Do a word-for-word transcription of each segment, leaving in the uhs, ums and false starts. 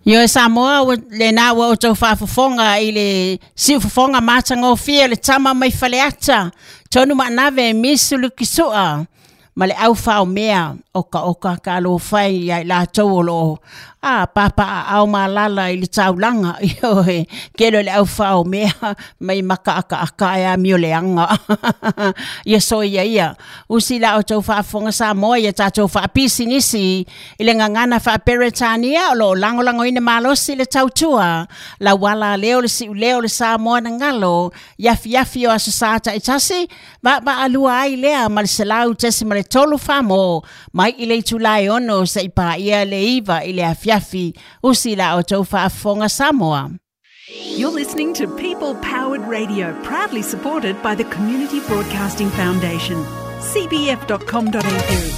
Ioe Samoa ua lena ua outou faafofoga i le siufofoga matagofie le tama mai Faleata tonu maanave misu lukisua ma le aufaomea okaoka kalofai ia i latou o loo a papaaao malala i le taulaga. Ioe, kele o le aufaomea mai makaakaaka e amio leaga. Ia soia ia usi la outou faafofoga Samoa ia tatou faapisinisi i le gagana faaperetania o loo lagolagoina malosi le tautua lauala lea o le siuleo o le Samoa na galo i afiafi o aso sa taitasi vaavaalua ai lea ma le selau tesi ma le tolu famo mai i le itula e ono se'i paia le iva i le afiafi. Usi la outou faafofoga Samoa. You're listening to People Powered Radio, proudly supported by the Community Broadcasting Foundation. C B F dot com dot A U.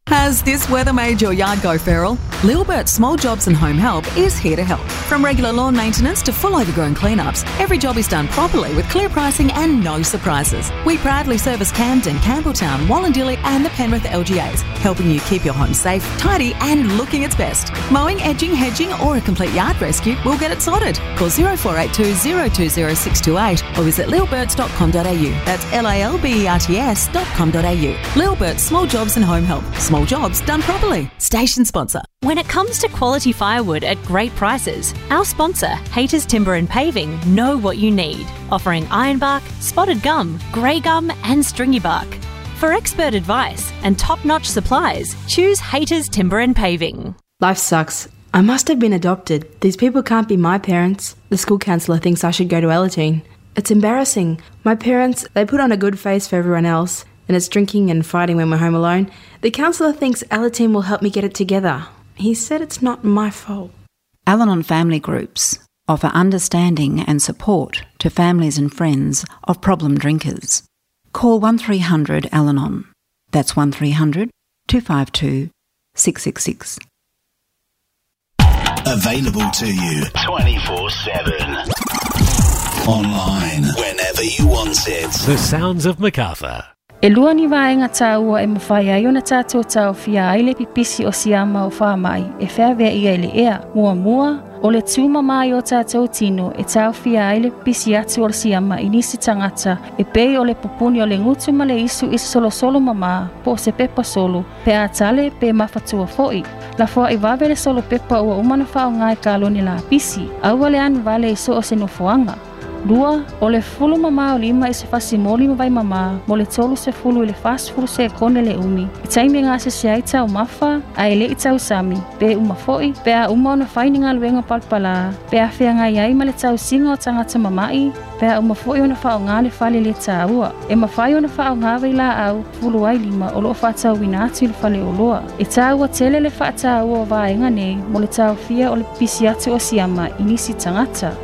Has this weather made your yard go feral? Lilbert Small Jobs and Home Help is here to help. From regular lawn maintenance to full overgrown cleanups, every job is done properly with clear pricing and no surprises. We proudly service Camden, Campbelltown, Wollondilly and the Penrith L G As, helping you keep your home safe, tidy and looking its best. Mowing, edging, hedging or a complete yard rescue, we'll get it sorted. Call zero four eight two zero two zero six two eight or visit lilberts dot com dot A U. That's L I L B E R T S dot com dot A U. Lilbert Small Jobs and Home Help. Small jobs done properly. Station sponsor. When it comes to quality firewood at great prices, our sponsor, Hayters Timber and Paving, know what you need. Offering ironbark, spotted gum, grey gum and stringy bark. For expert advice and top-notch supplies, choose Hayters Timber and Paving. Life sucks. I must have been adopted. These people can't be my parents. The school counsellor thinks I should go to Alateen. It's embarrassing. My parents, they put on a good face for everyone else, and it's drinking and fighting when we're home alone. The counsellor thinks Alateen will help me get it together. He said it's not my fault. Al-Anon family groups offer understanding and support to families and friends of problem drinkers. Call one three hundred Al-Anon. That's one three hundred two five two six six six. Available to you twenty-four seven. Online, whenever you want it. The Sounds of Macarthur. E lua ni vaenga tāua e mawhai ai ona tātou tāofia ai le pipisi o siama o whamai e wheawea ia i le ea. Mua mua, o le tūma mai o tātou tino e tāofia ai le pipisi atu o le siama i nisi tangata e pei o le pupuni o le ngutu ma le isu i solo solo mama po se pepa solo pe atale pe mafatua foi. La foa i wawe le solo pepa ua umana whao ngai kaloni la pisi. Aua le anu vale i so o se nofoanga. Lua, o le fulu mamā o lima i se fasimoli ma vai mamā, mo le tolu se fulu i le fasifulu se kone le umi. I taimi ngā se se ai tau mafa, a ele i tau sami, pe uma foi, pe a uma ona whaini ngā luenga palpalā, pe a whea ngai ai ma le tau singa o tangata mamai, pe a uma foi ona whao ngā le whale le tāua. E mawhai ona whao ngā wei la au, fulu ai lima o loo whātau wina atu i le whale o loa. E tāua tele le whātāua o vaenga nei, mo le tau fia o le pisi atu o siama i nisi tangata.